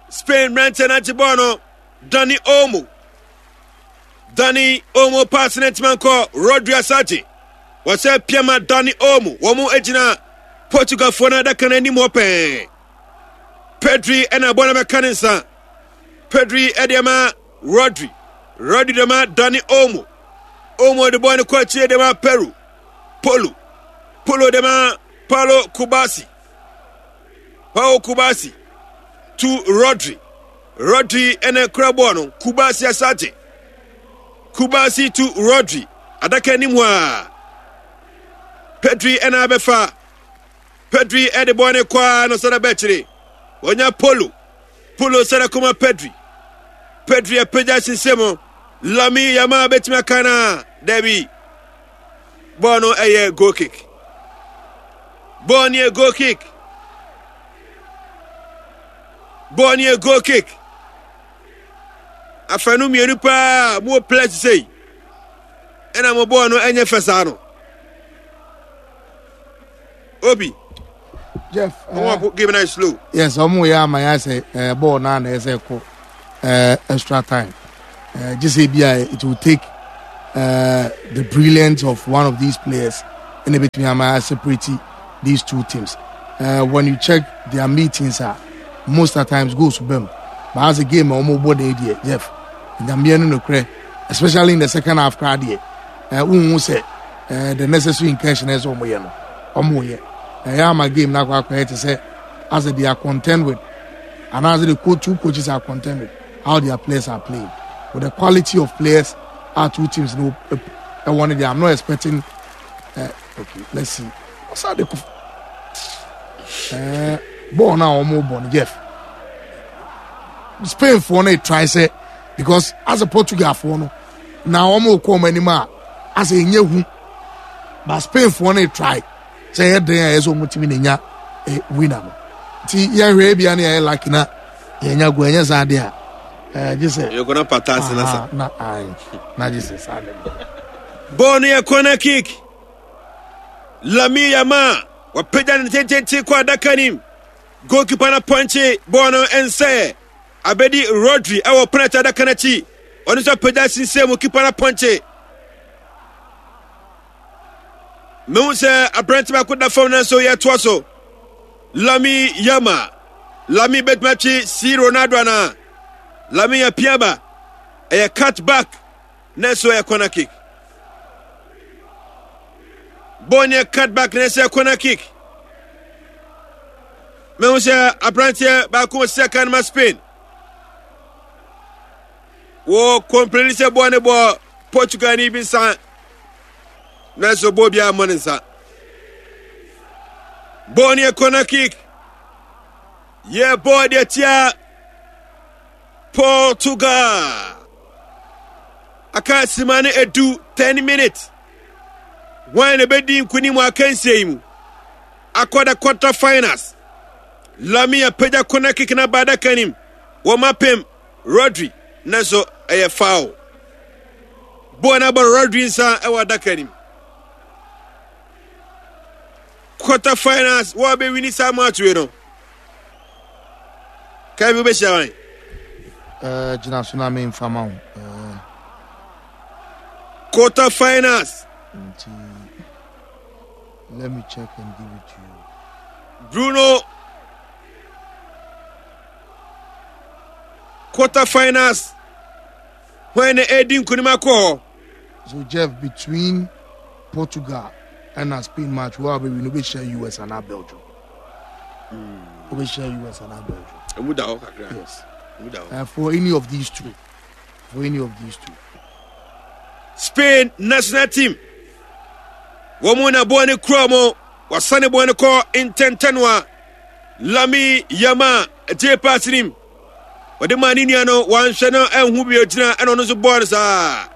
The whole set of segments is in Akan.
Spain mmeranteɛ no agye bɔɔl no. Dani Olmo. Dani Olmo pass no ntoma nkɔ Rodri Asante. Wɔsɛ piama Dani Olmo. Wɔn gyina Portugalfoɔ no adaka no anim hɔ pɛɛ. Pedri ɛna bɔɔl no bɛka ne nsa. Pedri ɛde ama Rodri. Rodri de ma Dani Olmo. Olmo de bɔɔl no kɔ akyire de ma Peru. Polo. Polo de ma Paulo Kubasi. Pau Kubasi to Rodri. Rodri ɛna kura bɔɔl no. Kubasi asate. Kubasi to Rodri. Adaka anim hɔ a. Pedri ɛna abɛfa. Pedri ɛde bɔɔl no kɔ a na ɔsɛ bɛkyere. Wɔnya Polo. Polo sɛ kɔma Pedri. Pedri apagya sensɛm mu. Lami Yamal bɛtumi aka no a dabi. Bɔɔl no ɛyɛ goal kick. Bɔɔl no yɛ goal kick. Bɔɔl no yɛ goal kick. Afanu mmienu paa mo wɔ players sei. Ɛna mo bɔɔl no ɛnyɛ fɛ saa no. Obi. Jeff. Wɔn uh, game na slow. Yes, wɔn yɛ ama yɛ sɛ ɛɛ bɔɔl naa na ɛsɛ kɔ ɛɛ extra time. Ɛɛ gye sɛ ebi a it will take uh, the brilliance of one of these players ɛna ebetumi ama yɛ separate these two teams. Uh, when you check their meetings ah, most of the times goals bɛm. But as a game a wɔn bɔ na deɛ Jeff, nyamea no nokorɛ especially in the second half koraa deɛ ɛɛ wohu sɛ. eh, the necessary incursion ɛsɛ wɔn yɛ no wɔn yɛ ɛyɛ ama game na akɔ akɔyɛ te sɛ as they are content with and as the co two coaches are content with how their players are playing with the quality of players our two teams no ɛwɔ no deɛ i'm not expecting uh, okay let's see ɔsa de ko ɛɛ bɔɔl no a wɔn bɔ no jeff spain foɔ no try sɛ because as a portugal foɔ no. Na wɔn rekɔ wɔn anim a asɛ ɛnyɛ hu ba spain foɔ no try sɛ ɛyɛ den a ɛyɛ sɛ wɔn tumi na nya eh, winner no nti yɛhwɛ ebia ne yɛyɛ lucky na yɛnya go ɛnyɛ saa deɛ a ɛɛ gye sɛ yɛkɔ na pata ase na sa na ayi na gye sɛ saa deɛ. Bɔɔl no yɛ corner kick. Lamine Yamal wapagya ne tententen kɔ adaka nim. Goalkeeper no apɔnkye bɔɔl no nsɛ. Abedi Rodri wɔ penalty adaka no akyi. Ɔno nso apagya sinsɛn mu kipa no apɔnkye. Mehu sɛ aberante baako da fam nanso yɛtoa so. Lami Yama. Lami bɛtumi atwe si Ronaldo anaa? Lami apia ba. Ɛyɛ cut back nanso ɛyɛ corner kick. Bɔɔl no yɛ cut back nanso ɛyɛ corner kick. Mehu sɛ aberanteɛ baako ɔsi aka no ma Spain. Wɔ kɔmpleni sɛ bɔɔl ne bɔ Portugal ni bi nsa. Nanso bɔɔl biara mmɔ ne nsa. Bɔɔl no yɛ corner kick. Yɛ bɔɔl deɛ tia Portugal. Aka sima no edu 10 minutes. Wɔn na ɛbɛdi nkunim wɔ akansie yi mu. Akɔ the quarter finals. Lami apagya corner kick na ba adaka nim. Wɔn apem Rodri nanso ɛyɛ foul. Bɔɔl no abɔ Rodri nsa wɔ adaka nim. Quarter finals wɔn abɛwini saa match wei no. Kevin wobɛhyia wan? Uh, gyina so na memfa ma wo. Uh, quarter finals. Nti Let me check and give it to you. Bruno quarter finals when na edi nkunim akɔ hɔ. So Jeff between Portugal and Spain match wo a bɛwi no wobɛhyia US anaa Belgium. Wobɛhyia US anaa Belgium. Emu da hɔ kakra. Yes. Emu da hɔ. For any of these two. For any of these two. Spain national team. Wɔn na bɔɔl no kura wɔn. Wɔasane bɔɔl no kɔ ntɛntɛn a Lami Yama gye pass nim. Wɔde maa ne nua no wanhwɛ no anhu bi ogyina ɛna ɔno nso bɔɔl no saa.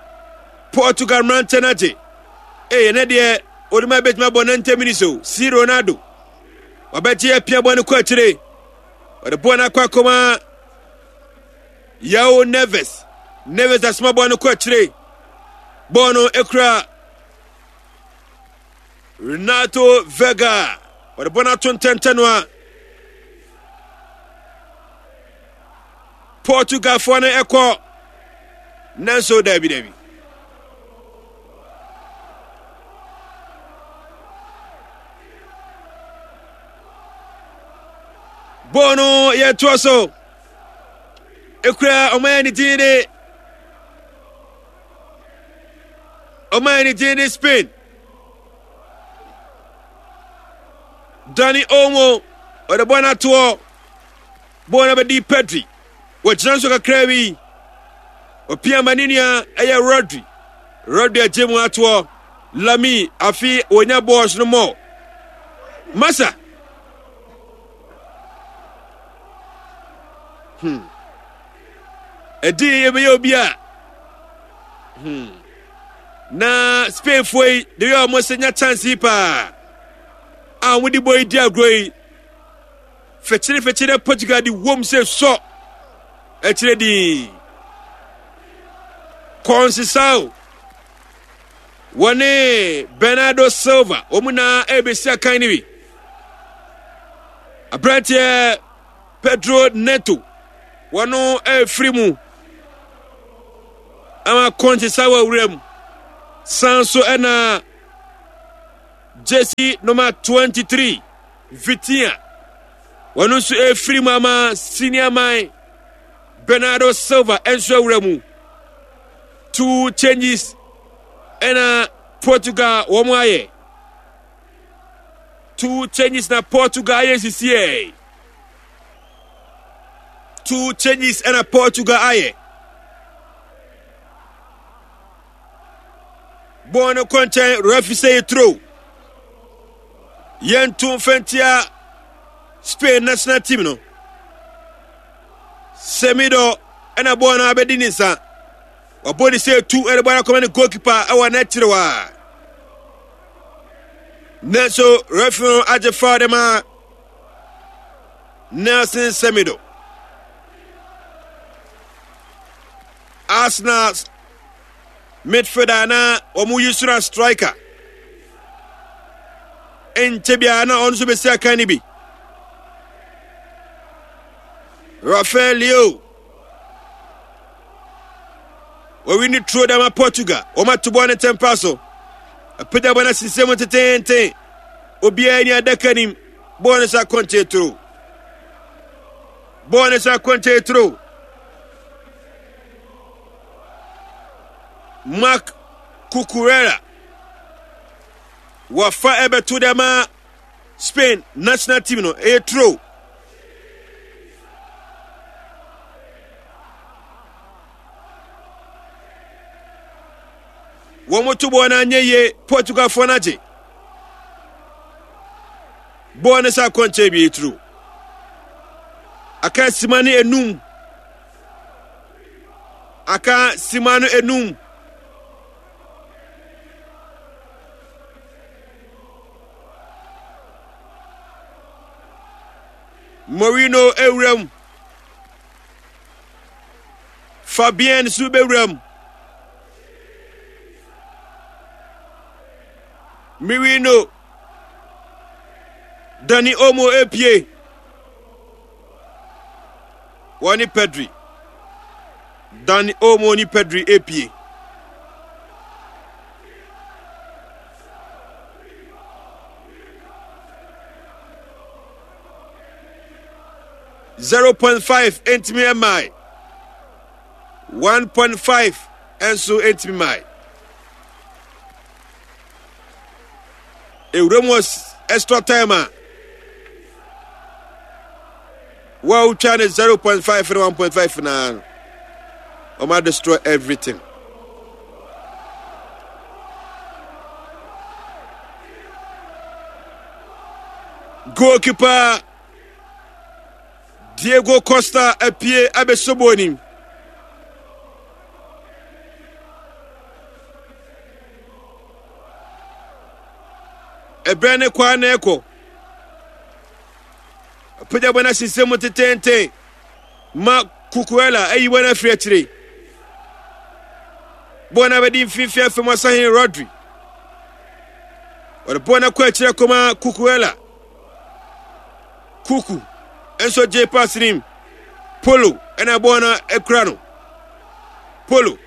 Portugal mmeranteɛ no agye. Ee ɛnɛ deɛ wɔde ma ebetumi abɔ 90 minutes o. Si Ronaldo. Wabɛgye apia bɔɔl no kɔ akyire. Wɔde bɔɔl no akɔ akɔma Yao Neves. Neves asoma bɔɔl no kɔ akyire. Bɔɔl no ekura Renato Vega. Wɔde bɔɔl no ato ntɛntɛn no a. Portugalfoɔ no ɛkɔ nanso daabi daabi. Bɔɔl no yɛtoa so ekura ɔman ne din de ɔman ne din de Spain. Dani Olmo ɔde bɔɔl no atoɔ bɔɔl no abɛdi Pedri wɔgyina nso kakra bi ɔpia ma ne nua ɛyɛ Rodri Rodri agye mu atoɔ Lami afi wɔnya bɔɔl no mɔ masa hmm ɛdi yɛbɛyɛ obi a hmm na Spainfoɔ yi de yɛ wɔn sɛ nya chance yi paa a wɔde bɔ yi di agorɔ yi fɛkyerɛfɛkyerɛ Portugal de wɔm sɛ sɔ akyerɛ din Conceição wɔne Bernardo Silva wɔn na ɛrebɛsi akan no bi aberanteɛ Pedro Neto wɔn ɛrefiri mu ama Conceição awura mu san so ɛna jersey number 23 Vitinha wɔn nso ɛrefiri mu ama senior man Bernardo Silva nso awura mu two changes ɛna Portugal wɔn ayɛ two changes na Portugal ayɛ sisiɛ two changes ɛna Portugal ayɛ bɔɔl no kɔ nkyɛn referee sɛ yɛ throw yɛnto mfɛntia Spain national team no Semido ɛna bɔɔl no abɛdi ne nsa wabɔ ne sɛ etu ɛde bɔɔl akɔma ne goalkeeper ɛwɔ n'akyiri hɔ a nanso referee no agye foul de ma Nelson Semido Arsenal midfielder na wɔn yi soro striker nkyɛ biara na ɔno nso bɛsi akan no bi Rafael Leo wɔwi ne turo dama Portugal wɔn ato bɔɔl ne tɛmpa so apagya bɔɔl no asensɛn mu teteenten obiara ni adaka nim bɔɔl no sɛ akɔnkyɛ turo bɔɔl no sɛ akɔnkyɛ turo Marc Cucurella wɔfa ɛbɛto dɛ ma Spain national team no ɛyɛ turo wɔn to bɔɔl no anyɛ yie Portugalfoɔ no agye bɔɔl no sɛ akɔnkyɛn bi turo aka sima ne enum Aka sima no enum. Mourinho ewura mu. Fabien nso bɛwura mu. Mourinho Dani Olmo epie. Wɔne Pedri. Dani Olmo ne Pedri epie. 0.5 ntumi mmae 1.5 nso ntumi mmae Ewura mu extra time a wɔatwa ne 0.5 ne 1.5 naa no wɔn destroy everything. Goalkeeper Diego Costa apue abɛsɔ bɔɔl nim. Ɛberɛ ne kɔ a na ɛkɔ. Apagya bɔ no asensɛn mu tetenten ma Cucurella ayi bɔ no afiri akyire. Bɔɔl no abɛdi mfimfini afei mu asahen Rodri. Wɔde bɔɔl no akɔ akyire akɔma Cucurella. Kuku nso gye pass nim. Polo ɛna bɔɔl no akura no. Polo.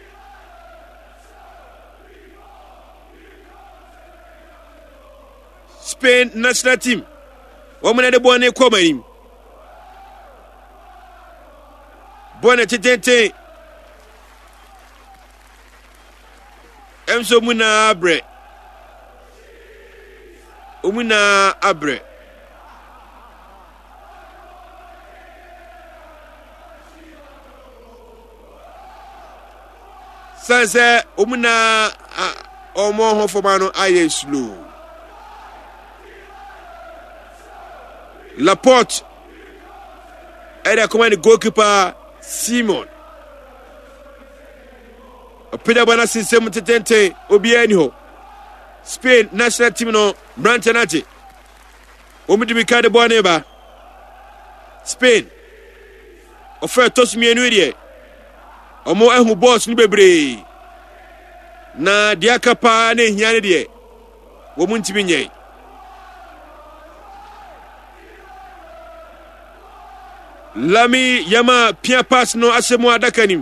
Spain national team wɔn na de bɔɔl no kɔ wɔn anim. Bɔɔl no tetenten. Ɛnso wɔn nyinaa abrɛ. Wɔn nyinaa abrɛ. Sane sɛ wɔn nyinaa wɔn ahofama no ayɛ slow. Laporte ɛde akɔma ne goalkeeper Simon. Ɔpagya bɔ no asensɛm mu tetenten, obiara ni hɔ. Spain national team no mmeranteɛ no agye. Wɔn de mirika de bɔɔl no ba. Spain ɔfɛ ɛtɔ so mmienu deɛ wɔn ahu bɔɔls no bebree na deɛ aka paa na ehia no deɛ wɔn ntumi nyɛ. Lami Yama pia pass no ahyɛ mu adaka nim.